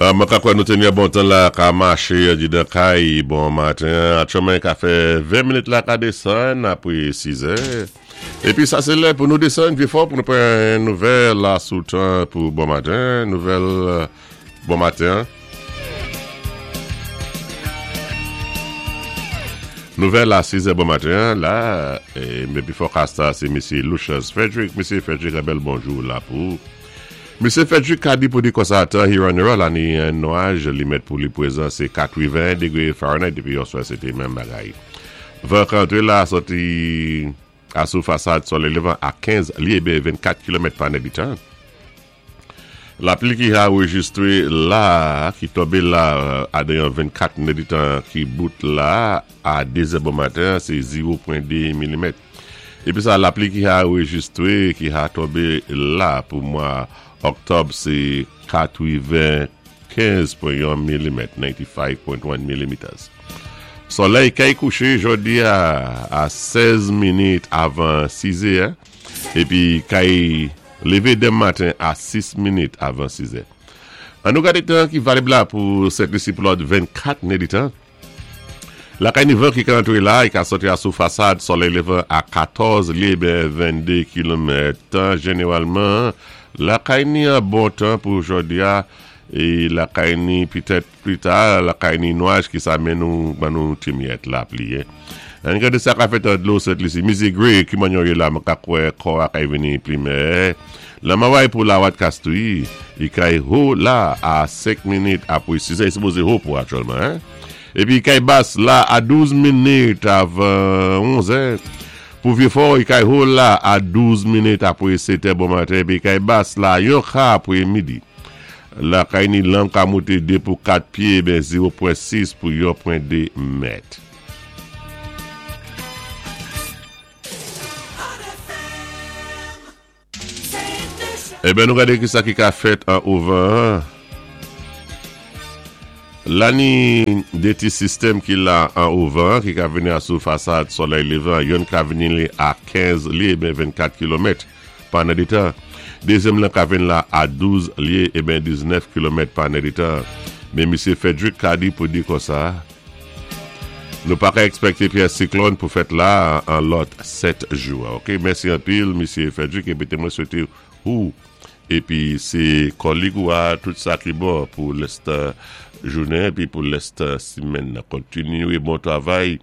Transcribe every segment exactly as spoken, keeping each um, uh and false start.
Euh, mwen ka kwè nou teni bon tan la ka maché di dan kay bon maten. Aktyèlman ka fè ven minit la ka désann apwé sis è. Épi sa sé lè pou nou désann Vyé-Fò pou nou pran nouvèl la sou tan pou bon maten, nouvèl euh, bon maten. Nouvèl a sis è bon maten la é épi forecast sé Mesye Lucius Frederick. Mesye Frederick, yon bèl bonjou la pou Mesye Frederick ka di pou di konsa tan Huron la ni yon nwaj li mèt pou li pwézan sé katwenn degwé Fahrenheit dépi yèswa sé té menm bagay. Van ka antré la sòti asou fasad solèy lévan a kenz lyé ben vennkat kilomèt pa nèditan. Lapli ki anwéjistwé la, ki tonbé la a dan vennkat nèditan ki bout la a de zè bon maten, sé zewo pwen de milimèt. Épi sa lapli ki anwéjistwé, ki a tonbé la pou mwa òktòb, sé katwennkèz pwen yon milimèt, ninety-five point one millimeters. Solèy kay kouché jòdi a, a sèz minit avan sis è, épi kay lévé denmen maten a sis minit avan sis è. An nou gadé tan ki valib la pou Sent Lisi pou lòt vennkat nèditan. Lakay ni van ki ka antré la, i ka sòti asou fasad solèy lévan a katòz lyé ben vennde kilomèt. Tan jénéwalman, lakay ni an bon tan pou jòdi a, é lakay ni pitèt pli ta, lakay ni nwaj ki sa men nou, ban nou ti miyèt lapli. An gadé sa ka fèt an dlo Sent Lisi. Mizi Gray, ki manyon yé la, mwen ka kwè kò a kay vini plimè. La maway pou la wat kastouy, i kay ho la a senk minit apwé sis è, i sipozé ho pou aktyèlman, hein? Épi kay bas la a douz minit avan onz è. Pou Vyé-Fò, i kay ho la a douz minit apwé sèt è bon maten, épi kay bas la yon ka apwé midi. La kay ni lanm ka mouté de pou kat pyé, ben zewo pwen sis pou yon pwen de mèt. Eben nou gade ki sa ki ka fèt an ouvan. La ni de ti sistèm ki la an ouvan ki ka vini asou fasad solèy lévan, youn ka vini li a kenz lyé ben vennkat kilomèt pa nèditan. Dézyèm lan ka vini la a douz lyé é ben diznèf kilomèt pa nèditan. Men Misye Frederick ka di pou di konsa, nou pa ka èkspèkté pyès siklòn pou fèt la an lòt sèt jou. Ok, mèsi anpil, Misye Frederick, épi mwen swété ou épi sé kòlig ou a tout sa ki bon pou lès jounen épi pou lès simenn. Kontinyé bon travay.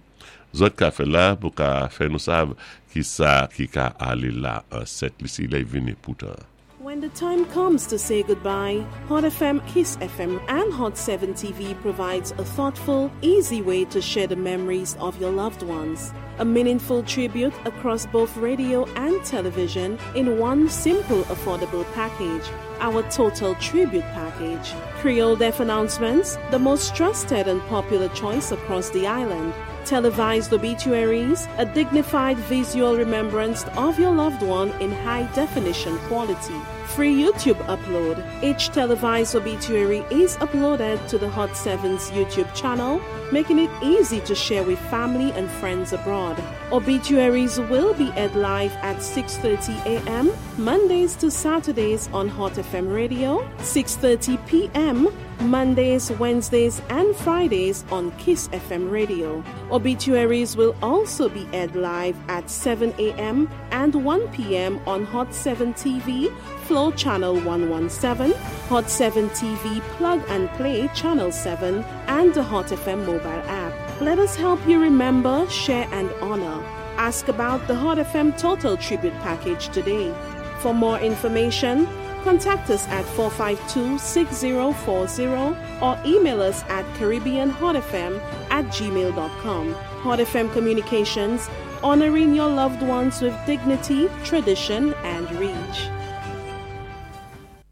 Zòt ka fè la pou ka fè nou sav ki sa ki ka alé la an Sent Lisi lè vini poutan. When the time comes to say goodbye, Hot F M, Kiss F M, and Hot seven T V provides a thoughtful, easy way to share the memories of your loved ones. A meaningful tribute across both radio and television in one simple, affordable package. Our Total Tribute Package. Creole Death Announcements, the most trusted and popular choice across the island. Televised obituaries, a dignified visual remembrance of your loved one in high definition quality. Free YouTube upload. Each televised obituary is uploaded to the Hot seven's YouTube channel, making it easy to share with family and friends abroad. Obituaries will be aired live at six thirty a m. Mondays to Saturdays on Hot F M Radio, six thirty p m. Mondays, Wednesdays, and Fridays on Kiss F M Radio. Obituaries will also be aired live at seven a m and one p m on Hot seven T V, Flow Channel one one seven, Hot seven T V Plug and Play Channel seven, and the Hot F M mobile app. Let us help you remember, share, and honor. Ask about the Hot F M Total Tribute Package today. For more information, contact us at four five two, six zero four zero or email us at caribbeanhotfm at gmail dot com. Hot F M Communications, honoring your loved ones with dignity, tradition, and reach.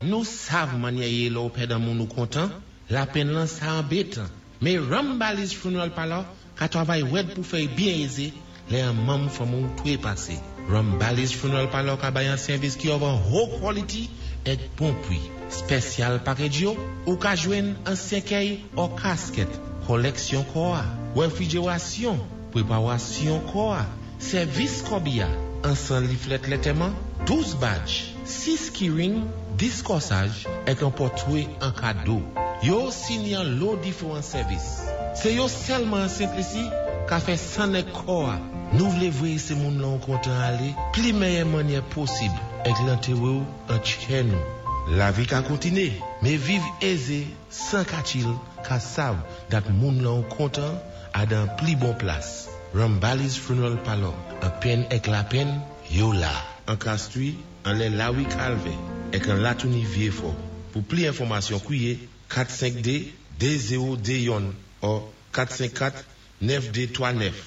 Nou sav mannyè yé lè ou pèd an moun ou kontan, lapenn lan sa anbétan. Men Rambali's Funeral Parlor ka travay wèd pou fè byen ézé, lè an manm fanmi ou twé pasé. Rambali's Funeral Parlor ka bay an sèvis ki of an haut quality èk bon pwi. Special package yo, ou ka jwenn an sèkèy ou casket, koleksyon kò a, refrijerasyon, pwéparasyon kò a, sèvis kòbiya, an san leaflet lantèman, douz badge, sis keyring, dis kòsaj, èk an pòtwé an kado. Yo osi ni an lo diféwan sèvis. Sé yo sèlman an Sent-Lisi ka fè sann èk kò-a. Nou vlé voyé sé moun lan ou kontan alé, pli méyè mannyè posib, èk lantéwé-w an tchè nou. Lavi ka kontiné, mé viv ézé, san katchil, ka sav dat moun lan ou kontan a dan pli bon plas. Rambali's Funeral Parlor, an penn èk lapenn, yo la. An Castries, anlè Lawi Kalvè, èk an Latouni Vyéfò. Pou pli enfòmasyon kwiyé kat senk dé, dé zewo dé youn, ou kat senk kat, nèf dé twa nèf.